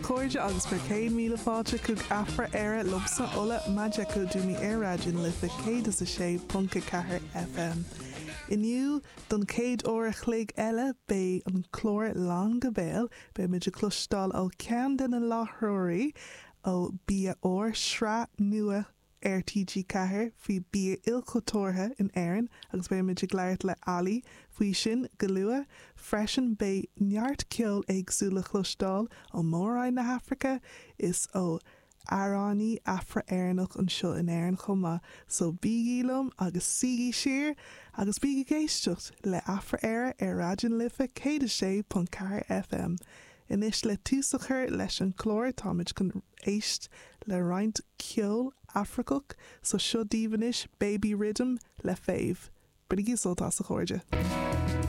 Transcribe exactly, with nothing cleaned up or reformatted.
chairde agus bhur gcéad míle fáilte chuig Afra Éire liomsa Ola Majekodunmi ar Raidió na Life céad is a sé ponc a ceathair FM. Inniu don chéad uair a chloig eile beidh an clár lán go béal, beimid ag cloisteáil ó cheann de na láithreoirí ó Bia Úr sraith nua ar TG Ceathair faoi bia ilchultúrtha in Éirinn agus beimid ag labhairt le Ali faoi sin go luath. Freisin beidh neart ceol éagsúil le cloisteáil ó Mhór-Roinn na hAfraice is ó amhránaí Afra-Éireannach anseo in Éirinn chomh maith, so bígí liom agus suígí siar agus bígí ag éisteacht le Afra Éire ar Raidió na Life céad a sé ponc ceathair FM. Anois le tús a chur leis an chlár táimid chun éist le roinnt ceol Afracach so seo daoibh anois Baby Rhythm le Fave. Bainigí sult as a chairde.